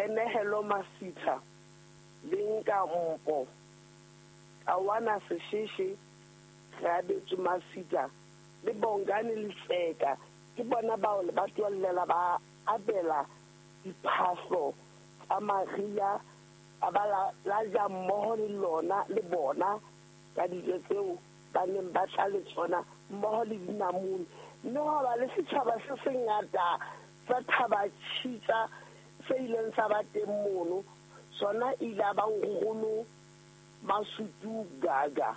Qenehelo Masitha le Nka Mpo, Tawana Sesheshe, Reabetswe Masitha le Bongani Letseka ke bona bao lebatowa le la ba abela diphahlo tsa mariha a ba la ja mmoho le lona le bona ka dijo tseo ba neng ba tla le tsona mmoho le dinamune. Mme hwa ba le setjhaba se sengata sa Thaba Tjhitja se ileng sa ba teng mono. Sona e ile ya ba nkgono Masutu Gaga,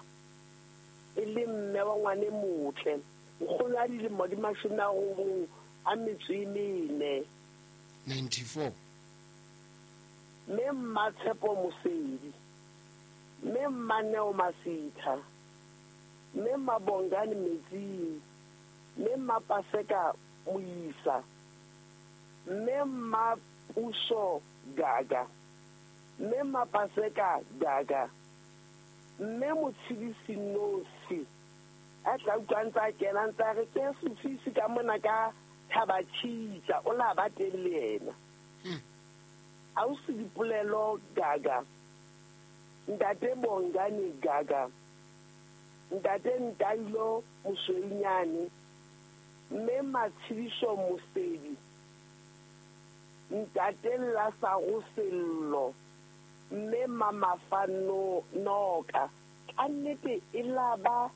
e le mme wa ngwane motle, nkgono ya dilemo di 94. 94. Mme Mmatshepo Mosedi, Mme Mmaneo Masitha, Mme Mabongani Metsing, Mme Mmapaseka Moisa, Mme Mmapuso Gaga, Mme Mapaseka Gaga, Mme Motshidisi Nosi, a tla utlwa ntse a kena ntse a re ke sefisi ka mona ka Thaba Tjhitja, o la ba teng le yena. Ausi Dipolelo Gaga, Ntate Bongani Gaga, Ntate Ntailo Mosweunyane, Mme Matshidiso Mosedi, Ntate Lasaro Sello, Mme Mamafa Noka. Ka nnete e la ba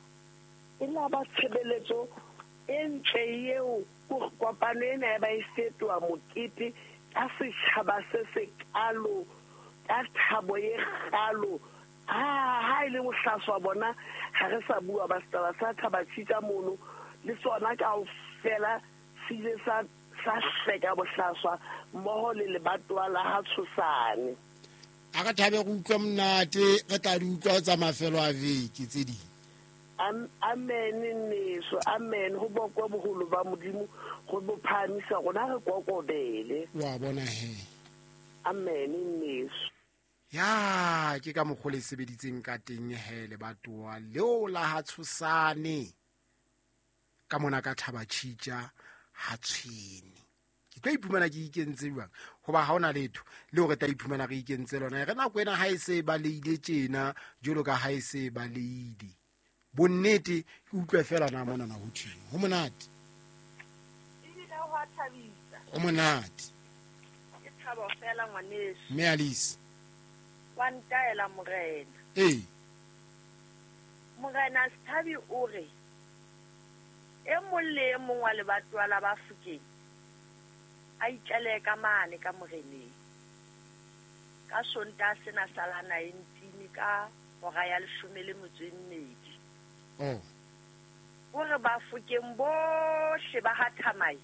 e la ba tshebeletso e ntle eo kopano ena ya ba e fetoha mokete ka setjhaba se sekalo, ka thabo e kgalo. Ha e le bohlaswa bona ha re sa bua ba setaba sa Thaba Tjhitja mono le sona kaofela se ile sa hleka bohlaswa mmoho le lebatowa la ha Tshosane. A re thabe go utlwa monate, re tla di utlwa tsa mafelo a veke tse ding. Amen nneso, amen. Ho bokwe boholo ba Modimo, go bo phahamisa rona re kokobele. Wa bona he. Amen nneso. Ya ke ka mokgwa le sebeditseng ka teng he lebatowa leo la ha Tshosane ka mona ka Thaba Tjhitja ha Tshwene. Ke tlo iphumana ke ikentse jwang hoba ha ona letho le hore tla iphumana re ikentse lona. Re nako ena ha e se ba leile tjena jwalo ka ha e se ba leile. Bonnete ke utlwe fela na mona na ho thweng. Ho monate. Ebile ho a thabisa. Ho monate. Ke thabo fela ngwaneso. Mme Alice. Wa ntaela morena. Ee. Morena Sethabi o re e mong le e mong wa lebatowa la Bafokeng a itlalehe ka mane ka moreneng ka Sontaha sena sa la 19 ka hora ya 12. Oh. O re Bafokeng bohle ba ha Thamai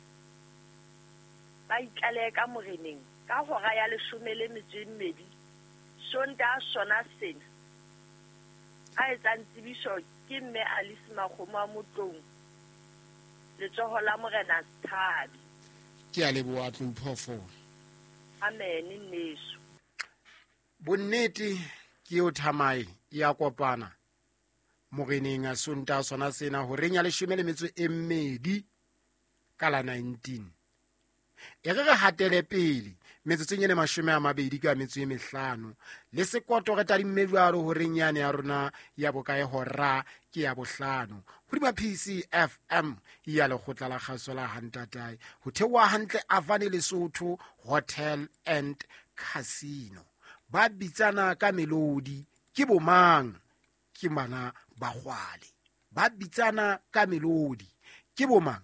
ba itlalehe ka moreneng ka hora ya 12 Sontaha sona sena. A etsang tsebiso ke mme Alice Makgomo a Motlong, letsoho la morena Sethabi. Ke a leboha Tlou Phoofolo. Amen nneso. Bonnete ke eo Thamai ya kopana moreneng a Sontaha sona sena horeng ya 12 ka la 19. E re re hatele pele metsotsong e le 25 le sekoto re tadimme jwalo horeng yane ya rona ya bokae hora ke ya bohlano hodima PCFM ya lekgotla la kgaso la Hantatae ho theoha hantle Avane Lesotho Hotel and Casino. Ba bitsana ka melodi ke bomang? Ke bana ba kgwale. Ba bitsana ka melodi ke bomang?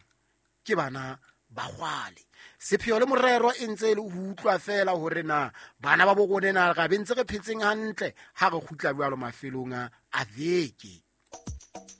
Ke bana ba kgwale. Sepheo le morero e ntse e le ho utlwa fela hore na bana ba bo rona na ra be ntse re phetseng hantle ha re kgutla jwalo mafelong a veke.